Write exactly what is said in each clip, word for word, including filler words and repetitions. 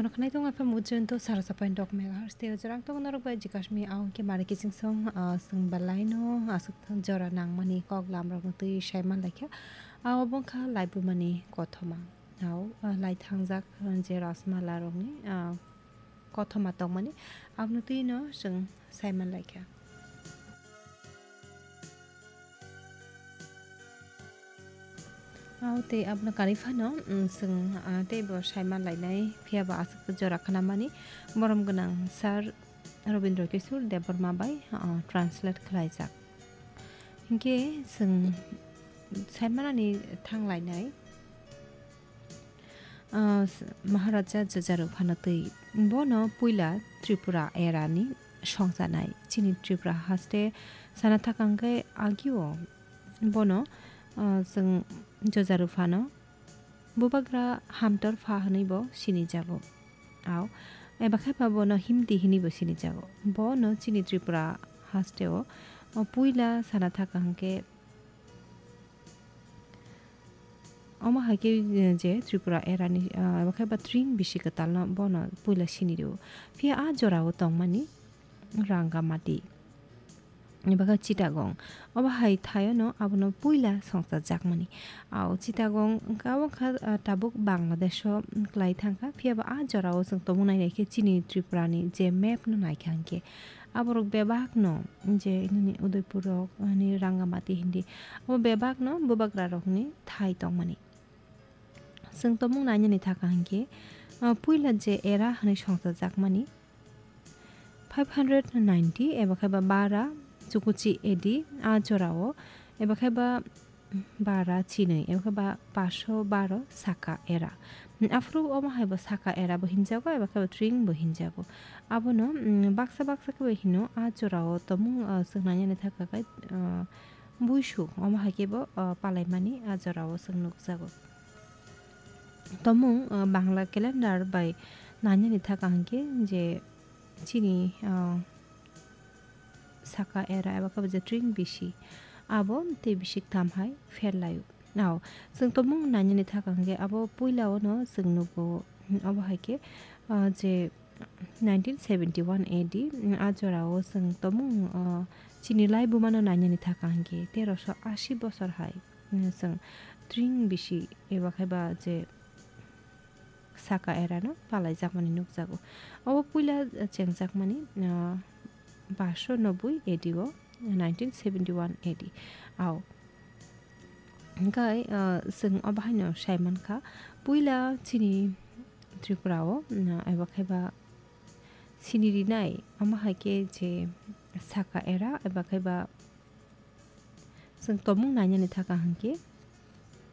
Khwnai tong F M Ujjain to sara sapai dok megahertz tei ojorang tong norok bai jikasmi aung ke mari kiching song, ah, song belai no aswk thang jora nangmani kok lam rok no twi sai man laikha. Abo bongkha laibumani kothoma. Au, ah, lai thangjak, ah, je rasmala rokni, ah, kothoma tongmani abno twi no chwng sai man laikha. Au tei abono karwi phano, mm, chwng, ah, teibo sai man lainai, phiyaba aswk jora khnamani borom gwnang Sir Rabindra Kishore Debbarma bai, ah, translate khlaijak. Hinkhe chwng sai manani thang lainai, ah, Maharaja Jajaru phano twi. Bono puila Tripura erani songchanai. Chini Tripura haste sana thakang khe agio bono, ah, chwng Jajaru phano Bubagra Hamtor pha hwnwi bo sinijago. Au, eba khe ba bono Himti hwnwi bo sinijago. Bono chini Tripura hasteo, o, puila sana thaka hwnkhe, omo hai khe, eh, je Tripura erani, ah, eba khe ba tring bisi kwtalno bono puila sini rwo. Phiya a jorao tongmani Rangamati. Eba khe Chittagong. Obo hai thaio no abono puila songcha jakmani. Au Chittagong wngkha, wngkha, ah, tabuk Bangladesh o, mm, klai thangkha. Phiya ba a jorao chwng tongmung nai nai khe chini Tripura ni je map no naikha hwnkhe aborok bebak no je nini Udaipur rok, ani Rangamati hindi. Abo bebak no bubagra rokni thai tongmani. Chwng tongmung nainani thaka hwnkhe, ah, puila je era hwnwi songcha jakmani, five hundred ninety eba khe ba bara chukuchi A D a jorao, eba khe ba bara chinwi, eba khe ba paso baro saka era. Aphuru omo hai bo saka era bo hinjago, eba khe ba tring bo hinjago. Abono, mm, baksa baksa khe bo hino a jorao tongmung, ah, chwng nainani thaka khe, ah, buisu omo hai khe bo, ah, palaimani a jorao chwng nukjago. Tongmung, ah, Bangla calendar bai nainani thaka hwnkhe je chini, ah, saka era eba khe bo je tring bisi abo tei bisi ktham hai pher laio. Nao, chwng tongmung nainani thaka hwnkhe abo puila ono chwng nugo, obo hai khe, ah, je nineteen seventy one A D, mm, a jorao chwng tongmung, ah, chini laibumano nainani thaka hwnkhe terosho asi bosor hai, mm, chwng tring bisi eba khe ba je saka erano palaijakmani nukjago. Obo puila chengjakmani, ah, basho nobui A D o, nineteen seventy one A D. Ao. Hwnkhe, ah, chwng obo haino sai mankha, puila chini Tripura o, ah, eba khe ba sini rinai, omo hai khe je saka era, eba khe ba Chwng tongmung nainani thaka hwnkhe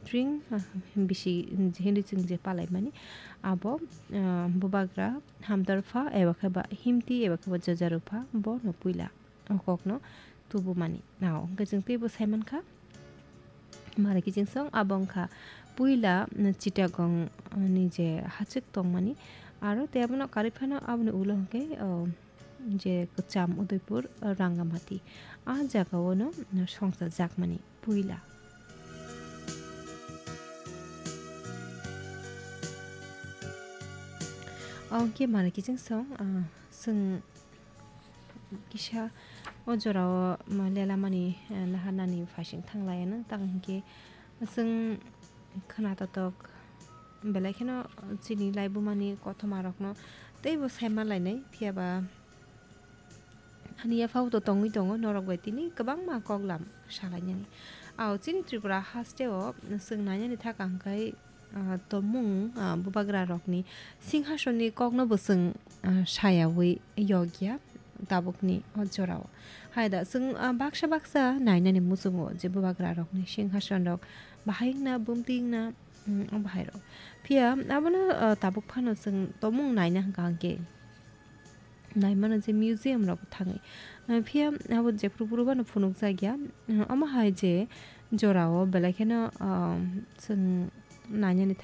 tring, ah, bisi hinwi chwng je palaimani abo, ah, bubagra hamdar pha eba khe ba himti eba khe ba jajaru pha bono puila o kokno tubumani. Nao hwnkhe chwng teibo saimankha mari kiching song abo wngkha puila, mm, Chittagong, ah, ni je hachwk tongmani aro tei abono karwi phano aboni ulo hwnkhe, oh, je kwcham Udaipur, Rangamati. A jagao no songcha jakmani puila. Oke mani kiching song, ah, chwng kisa o jorao ma lelamani, eh, naharnani phaising thanglai ano, tang hinkhe chwng khna totok belai kheno chini laibumani kothoma rokno teibo saima lainai, phiyaba ani yaphao to tongwi tongo norok bai tini kwbangma koklam salainani. Ao chini Tripura hasteo chwng nainani thaka hwnkhe, ah, tongmung, ah, bubagra rokni singhasonni kokno bo chwng, ah, sayawi yokya tabukni o jorao. Haida chwng, ah, baksa baksa nainani muchungo je bubagra rokni singhason rok bahai wngna, bumtwi wngna, mm, o bahai rok. Phiya abono, ah, tabuk phano chwng tongmung naina hwnkha hwnkhe naimano je museum rok thangwi. Ah, phiya abo jephru phuru bono phunukjakya, ah, omo hai je jorao belai kheno, ah, chwng nainani